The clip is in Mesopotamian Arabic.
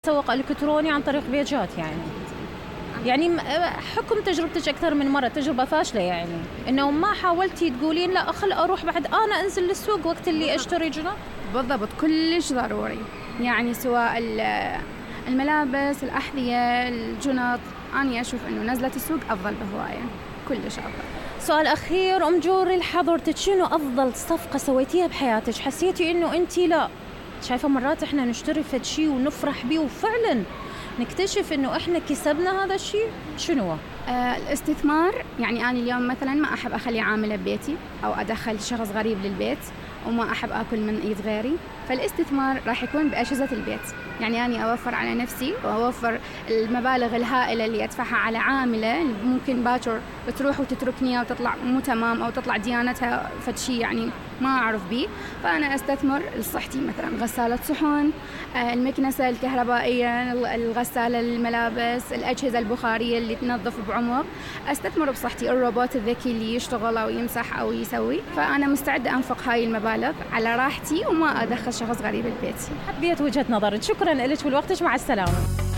تسوق إلكتروني عن طريق بيجات يعني حكم تجربتك أكثر من مرة تجربة فاشلة يعني إنه ما حاولتي تقولين لا خل أروح بعد أنا أنزل للسوق وقت اللي أشتري جنط. بالضبط كلش ضروري يعني سواء الملابس الأحذية الجنط أنا أشوف إنه نزلة السوق أفضل بهواية كلش أفضل. سؤال أخير أم جوري لحضرتك شنو أفضل صفقة سويتيها بحياتك حسيتي إنه أنتي لا شايفة مرات إحنا نشتري فد شي ونفرح بيه وفعلاً نكتشف إنه إحنا كسبنا هذا الشيء شنو؟ الاستثمار يعني أنا اليوم مثلاً ما أحب أخلي عاملة ببيتي أو أدخل شخص غريب للبيت وما أحب أكل من إيد غيري فالاستثمار راح يكون بأجهزة البيت يعني أنا أوفر على نفسي وأوفر المبالغ الهائلة اللي أدفعها على عاملة ممكن باكر تروح وتتركني أو تطلع مو تمام أو تطلع ديانتها فشي يعني ما أعرف بيه فأنا أستثمر لصحتي مثلا غسالة صحون المكنسة الكهربائية الغسالة الملابس الأجهزة البخارية اللي تنظف بعمق أستثمر بصحتي الروبوت الذكي اللي يشتغل أو يمسح أو يسوي فأنا مستعدة أنفق هاي المبالغ على راحتي وما أدخل شخص غريب البيت. حبيت وجهة نظرك شكرا لك ولوقتك مع السلامة.